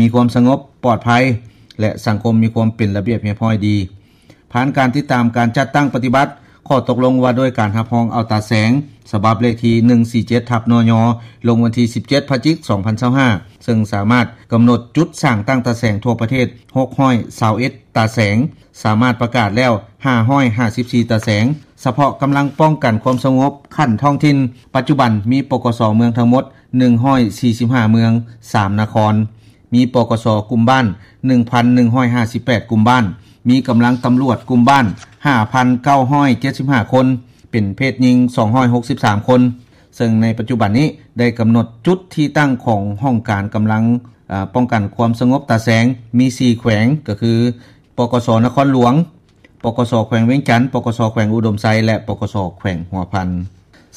ມີຄວາມສະຫງົບປອດໄພ ແລະ ສັງຄົມມີຄວາມເປັນລະບຽບຮຽບຮ້ອຍດີ. ຜ່ານການຕິດຕາມການຈັດຕັ້ງປະຕິບັດ ຂໍ້ຕົກລົງວ່າດ້ວຍການຮັບຮອງເອົາຕາແສງ ສະບັບເລກທີໜຶ່ງສີ່ເຈັດ ທັບ ນຍ ລົງວັນທີສິບເຈັດ ພະຈິກ ສອງພັນຊາວຫ້າ ເຊິ່ງສາມາດກຳນົດຈຸດສ້າງຕັ້ງຕາແສງທົ່ວປະເທດ ຫົກຮ້ອຍຊາວເອັດ ຕາແສງ, ສາມາດປະກາດແລ້ວ ຫ້າຮ້ອຍຫ້າສິບສີ່ ຕາແສງ. ສະເພາະກຳລັງປ້ອງກັນຄວາມສະຫງົບຂັ້ນທ້ອງຖິ່ນ ປັດຈຸບັນມີ ປກສ ເມືອງທັງໝົດ ໜຶ່ງຮ້ອຍສີ່ສິບຫ້າ ເມືອງ, ສາມນະຄອນ, ມີ ປກສ ກຸ່ມບ້ານ ໜຶ່ງພັນໜຶ່ງຮ້ອຍຫ້າສິບແປດ ກຸ່ມບ້ານ, ມີກຳລັງຕຳຫຼວດກຸ່ມບ້ານ ຫ້າພັນເກົ້າຮ້ອຍເຈັດສິບຫ້າ ຄົນ, ເປັນເພດຍິງ ສອງຮ້ອຍຫົກສິບສາມ ຄົນ. ເຊິ່ງໃນປັດຈຸບັນນີ້ໄດ້ກຳນົດຈຸດທີ່ຕັ້ງຂອງຫ້ອງການກຳລັງ ເອີ ປ້ອງກັນຄວາມສະຫງົບຕາແສງ ມີ ສີ່ ແຂວງ ກໍຄື ປກສ ນະຄອນຫຼວງ, ປກສ ແຂວງວຽງຈັນ, ປກສ ແຂວງອຸດົມໄຊ ແລະ ປກສ ແຂວງຫົວພັນ.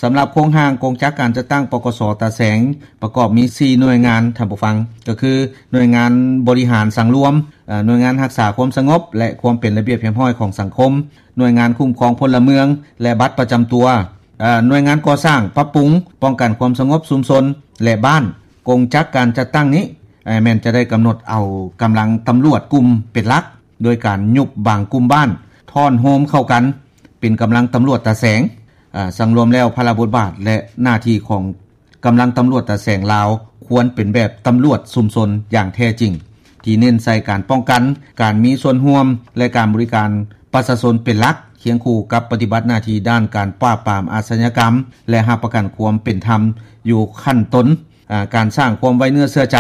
ສຳລັບໂຄງຮ່າງກົງຈັກການຈັດຕັ້ງ ປກສ ຕາແສງ ປະກອບມີ ສີ່ ໜ່ວຍງານ, ທ່ານຜູ້ຟັງ, ກໍຄື ໜ່ວຍງານບໍລິຫານສັງລວມ, ເອີ ໜ່ວຍງານຮັກສາຄວາມສະຫງົບ ແລະ ຄວາມເປັນລະບຽບຮຽບຮ້ອຍຂອງສັງຄົມ, ໜ່ວຍງານຄຸ້ມຄອງພົນລະເມືອງ ແລະ ບັດປະຈຳຕົວ, ເອີ ໜ່ວຍງານກໍ່ສ້າງ, ປັບປຸງ, ປ້ອງກັນຄວາມສະຫງົບຊຸມຊົນ ແລະ ບ້ານ. ກົງຈັກການຈັດຕັ້ງນີ້ ເອີ ແມ່ນຈະໄດ້ກຳນົດເອົາກຳລັງຕຳຫຼວດກຸ່ມເປັນຫຼັກ ໂດຍການຍຸບບາງກຸ່ມບ້ານ, ທ້ອນໂຮມເຂົ້າກັນເປັນກຳລັງຕຳຫຼວດຕາແສງ. ເອີ ສັງລວມແລ້ວ ພາລະບົດບາດ ແລະ ໜ້າທີ່ຂອງກຳລັງຕຳຫຼວດຕາແສງລາວ ຄວນເປັນແບບຕຳຫຼວດຊຸມຊົນຢ່າງແທ້ຈິງ, ທີ່ເນັ້ນໃສ່ການປ້ອງກັນ, ການມີສ່ວນຮ່ວມ ແລະ ການບໍລິການປະຊາຊົນເປັນຫຼັກ, ຄຽງຄູ່ກັບປະຕິບັດໜ້າທີ່ດ້ານການປາບປາມອາຊະຍາກຳ ແລະ ຮັບປະກັນຄວາມເປັນທຳຢູ່ຂັ້ນຕົ້ນ. ອາ ການສ້າງຄວາມໄວ້ເນື້ອເຊື່ອໃຈ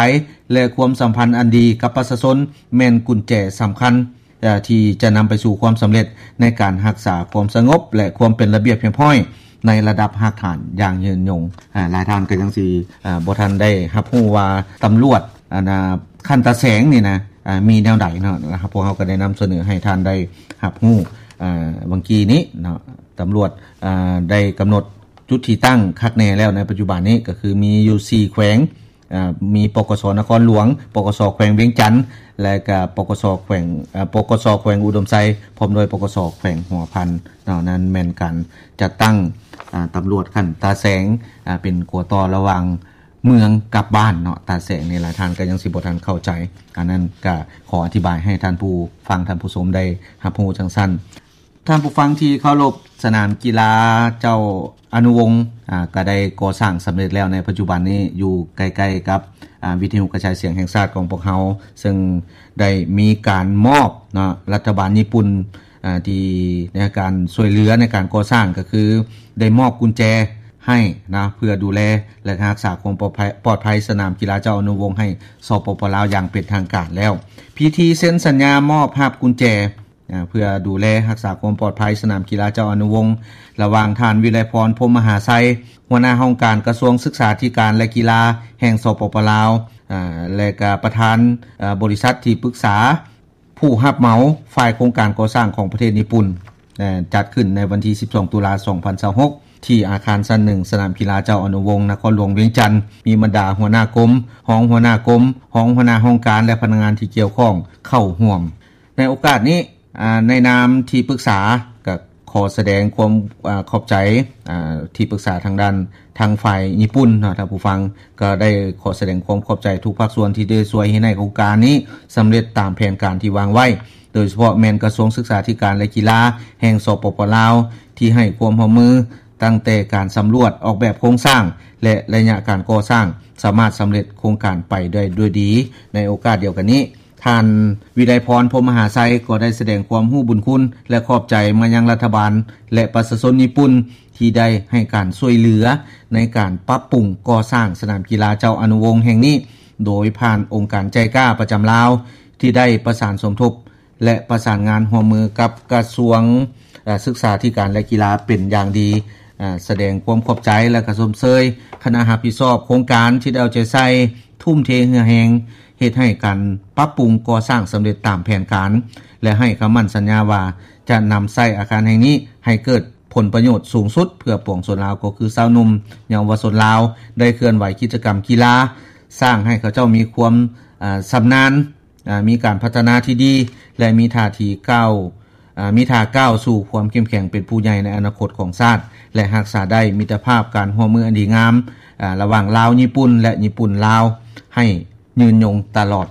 ແລະ ຄວາມສຳພັນອັນດີກັບປະຊາຊົນ ແມ່ນກຸນແຈສຳຄັນ ເອີ ທີ່ຈະນຳໄປສູ່ຄວາມສຳເລັດໃນການຮັກສາຄວາມສະຫງົບ ແລະ ຄວາມເປັນລະບຽບຮຽບຮ້ອຍໃນລະດັບຮາກຖານຢ່າງຍືນຍົງ. ອາ ຫຼາຍທ່ານກໍຍັງຊິ ອາ ບໍ່ທັນໄດ້ຮັບຮູ້ວ່າຕຳຫຼວດ ອັນ ອາ ຂັ້ນຕາແສງນີ້ນະ ອາ ມີແນວໃດເນາະ, ພວກເຮົາກໍໄດ້ນຳສະເໜີໃຫ້ທ່ານໄດ້ຮັບຮູ້ ອາ ຫວ່າງກີ້ນີ້ເນາະ. ຕຳຫຼວດ ອາ ໄດ້ກຳນົດຈຸດທີ່ຕັ້ງຄັກແນ່ແລ້ວໃນປັດຈຸບັນນີ້ ກໍຄືມີຢູ່ ສີ່ ແຂວງ ອາ ມີ ປກສ ນະຄອນຫຼວງ, ປກສ ແຂວງວຽງຈັນ ແລະ ກະ ປກສ ແຂວງ ອາ ປກສ ແຂວງອຸດົມໄຊ ພ້ອມດ້ວຍ ປກສ ແຂວງຫົວພັນເນາະ. ນັ້ນແມ່ນການຈັດຕັ້ງ ອາ ຕຳຫຼວດຂັ້ນຕາແສງ ອາ ເປັນຂົວຕໍ່ລະຫວ່າງເມືອງກັບບ້ານເນາະ. ຕາແສງນີ້ຫຼາຍທ່ານກໍຍັງຊິບໍ່ທັນເຂົ້າໃຈ, ອັນນັ້ນກະຂໍອະທິບາຍໃຫ້ທ່ານຜູ້ຟັງ ທ່ານຜູ້ຊົມໄດ້ຮັບຮູ້ຈັ່ງຊັ້ນ. ທ່ານຜູ້ຟັງທີ່ເຄົາລົບ, ສະໜາມກິລາເຈົ້າອະນຸວົງ ອາ ກໍໄດ້ກໍ່ສ້າງສຳເລັດແລ້ວໃນປັດຈຸບັນນີ້ ຢູ່ໃກ້ໆກັບ ອາ ວິທະຍຸກະຈາຍສຽງແຫ່ງຊາດຂອງພວກເຮົາ, ເຊິ່ງໄດ້ມີການມອບເນາະ ລັດຖະບານຍີ່ປຸ່ນ ອາ ທີ່ໃນການຊ່ວຍເຫຼືອໃນການກໍ່ສ້າງ ກໍຄືໄດ້ມອບກຸນແຈໃຫ້ນະ ເພື່ອດູແລ ແລະ ຮັກສາຄວາມປອດໄພ ປອດໄພສະໜາມກິລາເຈົ້າອະນຸວົງໃຫ້ ສປປ ລາວ ຢ່າງເປັນທາງການແລ້ວ. ພິທີເຊັນສັນຍາມອບຮັບກຸນແຈ ອາ ເພື່ອດູແລຮັກສາຄວາມປອດໄພສະໜາມກິລາເຈົ້າອະນຸວົງ ລະຫວ່າງທ່ານ ວິໄລພອນ ພົມມະຫາໄຊ ຫົວໜ້າຫ້ອງການກະຊວງສຶກສາທິການ ແລະ ກິລາແຫ່ງ ສປປ ລາວ ອາ ແລະ ກະປະທານ ອາ ບໍລິສັດທີ່ປຶກສາຜູ້ຮັບເໝົາຝ່າຍໂຄງການກໍ່ສ້າງຂອງປະເທດຍີ່ປຸ່ນ ອາ ຈັດຂຶ້ນໃນວັນທີສິບສອງ ຕຸລາ ສອງພັນຊາວຫົກ ທີ່ອາຄານຊັ້ນໜຶ່ງ ສະໜາມກິລາເຈົ້າອະນຸວົງ ນະຄອນຫຼວງວຽງຈັນ, ມີບັນດາຫົວໜ້າກົມ, ຮອງຫົວໜ້າກົມ, ຮອງຫົວໜ້າຫ້ອງການ ແລະ ພະນັກງານທີ່ກ່ຽວຂ້ອງເຂົ້າຮ່ວມ. ໃນໂອກາດນີ້ ອາ ໃນນາມທີ່ປຶກສາ ກໍຂໍສະແດງຄວາມ ອາ ຂອບໃຈ ອາ ທີ່ປຶກສາທາງດ້ານ ທາງຝ່າຍຍີ່ປຸ່ນເນາະ ທ່ານຜູ້ຟັງ, ກໍໄດ້ຂໍສະແດງຄວາມຂອບໃຈທຸກພາກສ່ວນທີ່ໄດ້ຊ່ວຍເຮັດໃຫ້ໂຄງການນີ້ສຳເລັດຕາມແຜນການທີ່ວາງໄວ້, ໂດຍສະເພາະແມ່ນກະຊວງສຶກສາທິການ ແລະ ກິລາແຫ່ງ ສປປ ລາວ ທີ່ໃຫ້ຄວາມຮ່ວມມື ຕັ້ງແຕ່ການສຳຫຼວດອອກແບບໂຄງສ້າງ ແລະ ໄລຍະການກໍ່ສ້າງ ສາມາດສຳເລັດໂຄງການໄປໄດ້ດ້ວຍດີ. ໃນໂອກາດດຽວກັນນີ້ ທ່ານ ວິໄລພອນ ພົມມະຫາໄຊ ກໍໄດ້ສະແດງຄວາມຮູ້ບຸນຄຸນ ແລະ ຂອບໃຈມາຍັງລັດຖະບານ ແລະ ປະຊາຊົນຍີ່ປຸ່ນ ທີ່ໄດ້ໃຫ້ການຊ່ວຍເຫຼືອໃນການປັບປຸງກໍ່ສ້າງສະໜາມກິລາເຈົ້າອະນຸວົງແຫ່ງນີ້ ໂດຍຜ່ານອົງການໄຈກາປະຈຳລາວ ທີ່ໄດ້ປະສານສົມທົບ ແລະ ປະສານງານຮ່ວມມືກັບກະຊວງ ເອີ ສຶກສາທິການ ແລະ ກິລາເປັນຢ່າງດີ, ອາ ສະແດງຄວາມຂອບໃຈ ແລະ ກະຊົມເຊີຍຄະນະຮັບຜິດຊອບໂຄງການທີ່ໄດ້ເອົາໃຈໃສ່, ທຸ່ມເທເຫື່ອແຮງ ເຮັດໃຫ້ການປັບປຸງກໍ່ສ້າງສຳເລັດຕາມແຜນການ ແລະ ໃຫ້ຄຳໝັ້ນສັນຍາວ່າ ຈະນຳໃຊ້ອາຄານແຫ່ງນີ້ໃຫ້ເກີດຜົນປະໂຫຍດສູງສຸດເພື່ອປວງຊົນລາວ ກໍຄືຊາວໜຸ່ມ, ເຍົາວະຊົນລາວ ໄດ້ເຄື່ອນໄຫວກິດຈະກຳກິລາ, ສ້າງໃຫ້ເຂົາເຈົ້າມີຄວາມ ອາ ຊຳນານ, ອາ ມີການພັດທະນາທີ່ດີ ແລະ ມີທ່າທີ່ກ້າວ ອາ ມີທ່າກ້າວສູ່ຄວາມເຂັ້ມແຂງເປັນຜູ້ໃຫຍ່ໃນອະນາຄົດຂອງຊາດ ແລະ ຮັກສາໄດ້ມິດຕະພາບການຮ່ວມມືອັນດີງາມ ອາ ລະຫວ່າງລາວ-ຍີ່ປຸ່ນ ແລະ ຍີ່ປຸ່ນ-ລາວ ໃຫ້ຍືນຍົງຕະຫຼອດ